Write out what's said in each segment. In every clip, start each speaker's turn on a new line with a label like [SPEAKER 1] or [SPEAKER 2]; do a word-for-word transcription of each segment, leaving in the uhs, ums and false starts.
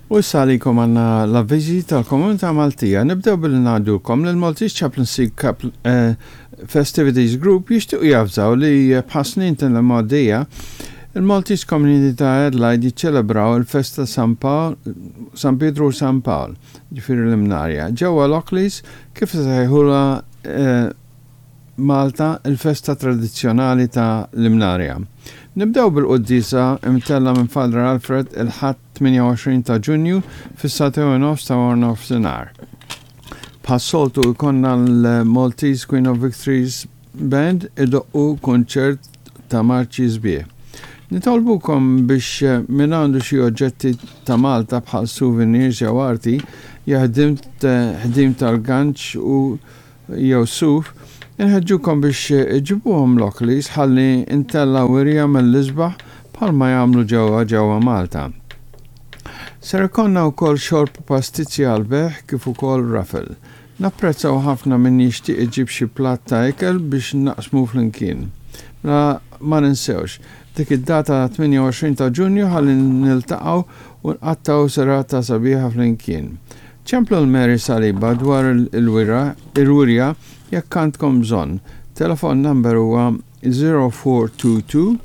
[SPEAKER 1] U issa għalikom għandna l-avviżi tal-Komunità Maltija. Nibdew billi ngħidulkom li l-Maltese Chaplaincy eh, Festivities Group jixtiequ javżaw li bħas-snin tal-imgħoddija il-Maltese Community ta' Adelaide jiċċelebraw il-festa San Pawl, San Pietro u San Pawl, ġifieri l-Imnarja. Ġewwa Lockleys kif sejħula eh, Malta il-festa tradizzjonali ta' l-Imnarja. Nibdew bil-quddisa imtella minn Father Alfred il-Ħadd tmienja u għoxrin ta' Ġunju fis-sagħtejn u nofs ta' nofsinhar. Bħas-soltu jkollna l-Maltese Queen of Victories Band idoqqu konċert ta' marċi sbieħ. Nitolbukom biex min għandu xi oġġetti ta' Malta bħal souvenirs jew arti, ħdim tal-ganċ u jew suf, inħeġġukom biex iġibuhom Lockleys ħalli ntellgħu wirja mill-isbaħ bħalma jagħmlu ġewwa ġewwa Malta. Ser ikollna wkoll xorb, pastizzi għall-bejgħ kif ukoll raffle. Napprezzaw ħafna min jixtieq iġib xi platt ta' ikel biex naqsmu flimkien. Mela ma ninsewx, dik id-data tmienja u għoxrin ta' Ġunju ħalli niltaqgħu u nqattgħu serata sabiħa flimkien. Ċemplu lil Mary Saliba dwar il-wirja jekk għandkom bżonn. Telefon number huwa zero four two two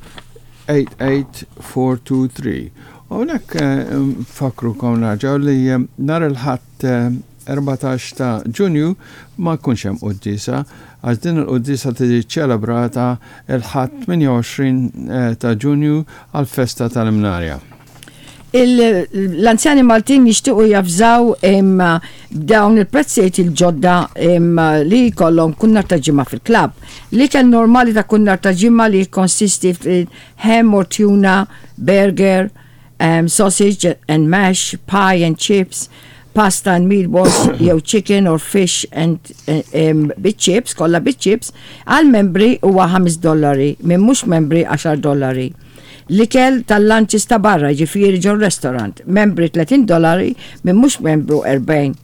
[SPEAKER 1] eight eight four two three. U hawnhekk nfakkrukom nerġgħu li nhar il-Ħadd erbatax ta' Ġunju ma jkunx hemm quddisa għax din il-quddisa tiġi ċelebrata il-Ħadd tmienja u għoxrin ta' Ġunju għal-festa tal-Imnarja.
[SPEAKER 2] L-anzjani Maltin jixtiequ javżaw dawn il-prezzijiet il-ġodda li jkollhom kull nhar ta' Ġimgħa fil-klabb. L-ikel normali ta' kull nhar ta' Ġimgħa li konsisti ham or tuna, burger, um, sausage and mash, pie and chips, pasta and meatballs, jew chicken or fish and um, bit chips, kollha bit chips, għal membri huwa ħames dollari, minn mhux membri għaxar dollari. L-ikel tal-lunches ta' barra, ġifieri ġo restaurant, membri tletin dollari, minn mhux membru erbgħin.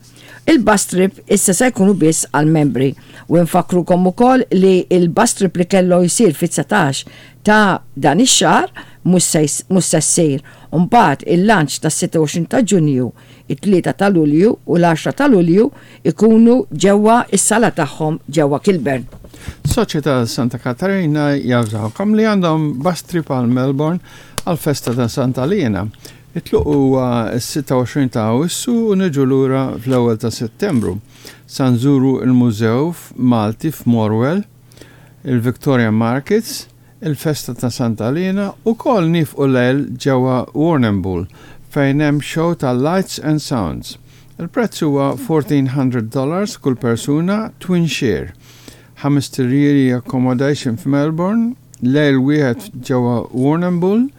[SPEAKER 2] Il-bus trip issa se jkunu biss għal membri u nfakkrukom ukoll li il-bus trip li kellu jsir fit-dsatax ta' dan ix-xahar mhux se ssir. Mbagħad il-lunch tas sitta u għoxrin ta' Ġunju, it-tlieta ta' Lulju u l-għaxra ta' Lulju ikunu ġewwa is-sala tagħhom ġewwa Kilburn.
[SPEAKER 1] Soċjetà Santa Katarina javżawkom li għandhom bus trip għal Melbourne għal festa ta' Santa Lena. It-tluq huwa s-sitta u għoxrin ta' Awwissu u niġu lura fl-ewwel ta' Settembru. Sa nżuru il-Mużew Malti f'Morwell, il-Victoria Markets, il-festa ta' Santa Lena u ukoll nieqfu lejl ġewwa Warrnambool fejn hemm show ta' Lights and Sounds. Il-prezz huwa fourteen hundred dollars kull persuna, twin share. Ħames iljieli accommodation f'Melbourne, lejl wieħed ġewwa Warrnambool,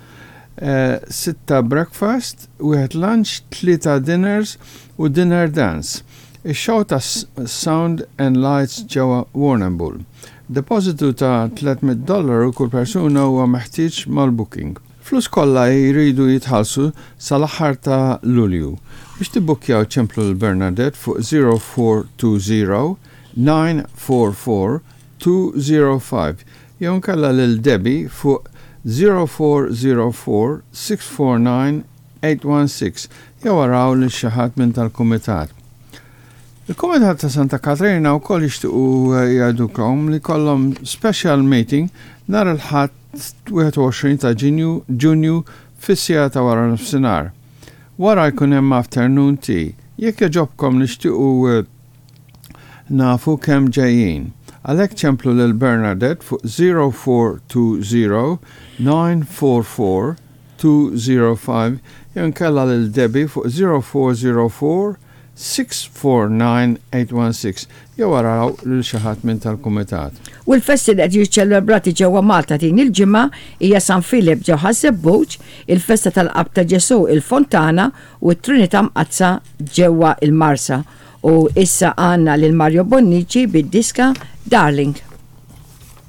[SPEAKER 1] eh, sitta breakfast, wieħed lunch, tlieta dinners u dinner dance. Ix-show ta' Sound and Lights ġewwa Warrnambool. Depositu ta' tliet mitt dollaru kull persuna huwa meħtieġ mal-booking. Flus kollha jridu jitħallsu sal-aħħar ta' Lulju. Biex tibbukkjaw ċemplu lil Bernadette fuq zero four two zero nine four four two zero five jew nkella lil Debbie fuq zero four zero four six four nine eight one six jew araw lil xi ħadd minn tal-kumitat. Il-Kumitat ta' Santa Katarina wkoll jixtiequ jgħidukom li kollhom special meeting nhar il-Ħadd wieħed u għoxrin ta' Ġunju Ġunju fis-siegħa ta' wara nofsinhar. Wara jkun hemm afternoon tea. Jekk jogħġobkom nixtiequ nafu kemm ġejjin. Għalhekk ċemplu lil Bernadette fuq zero four two zero nine four four two zero five jew nkella lil Debbie fuq zero four zero four six four nine eight one six jew araw lil xi ħadd minn tal-kumitat.
[SPEAKER 2] U l-festi li qed jiċċelebrati ġewwa Malta din il-ġimgħa hija San Filip ġewwa Ħaż-Żebbuġ, il-festa tal-Qalb ta' Ġesu il-Fontana u t-Trinità Mqaddsa ġewwa il-Marsa. U issa għandna lil Mario Bonnici bid-diska Darling.